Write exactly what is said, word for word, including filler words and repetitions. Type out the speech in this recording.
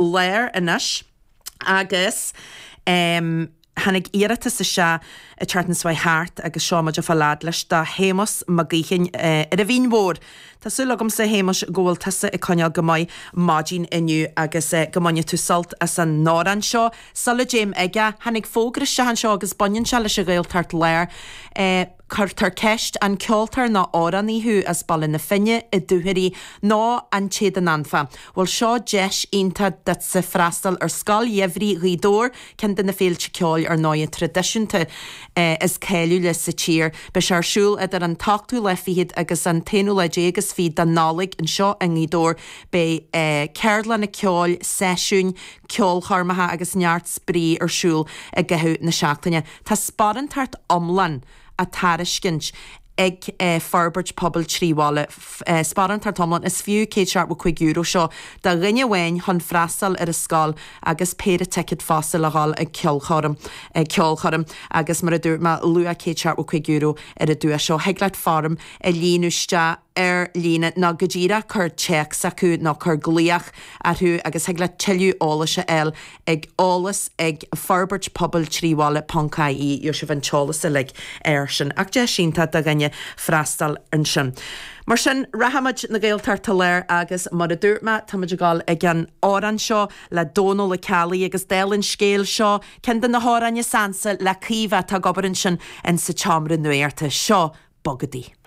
Láir anois agus um, tháinig iarratas isteach an tseachtain seo thart agus seo muid fá lead leis do Shéamus Mac Gaoithín ar an Mhín Mhór. Tá súil agamsa Shéamuis go bhfuil tusa ag coinneáil go maith maidin inniu agus go mbainfidh tú sult as an amhrán seo. Sula dtéim aige tháinig fógra isteach anseo agus baineann sé leis an Ghaeltacht Láir. Cuirtear ceist an ceoltóir nó amhránaí thú as Baile na Finne i dTuairí nó an téad an anfa. Bhuel seo deis iontach duitse freastal ar Scoil Gheimhridh Ghaoth Dobhair ceann de na féilte ceoil ar ndóigh traidisiúnta is cáiliúla sa tír. Beidh sé ar siúl idir an t-ochtú lá fichead agus an t-aonú lá déag is fiche de Nollaig anseo i nGaoth Dobhair beidh ceardlanna ceoil, seisiúin, ceolchoirmeacha agus neart spraoi ar siúl i gcaitheamh na seachtaine. Tá sparántacht iomlán á tairiscint ag forbairt pobail trí bhaile sparántacht iomlán is fiú céad seachtó cúig euro seo do dhuine amháin chun freastal ar an scoil agus péire ticéad fosta le dhul ag ceolchoirm ag ceolchoirm agus mar a dúirt mé luach céad seachtó cúig euro ar an duais seo. Thig leat foirm a líonadh isteach ar líne nó go díreach cur téacs acu nó cur glaoch orthu agus thig leat tuilleadh eolais a fháil ag eolas ag forbairt pobail trí bhaile ponc ie gheobhaidh sibh an t-eolas uilig air sin ach deis iontach do dhuine freastal ansin. Mar sin rachaimid na Gaeltachta Láir agus mar a dúirt mé táimid ag dul ag an amhrán seo le Dónal Ó Ceallaigh agus dála an scéil seo ceann de na hamhráin is ansa le Caoimhe atá ag obair ansin in sa tseomra nuachta seo bogadaí.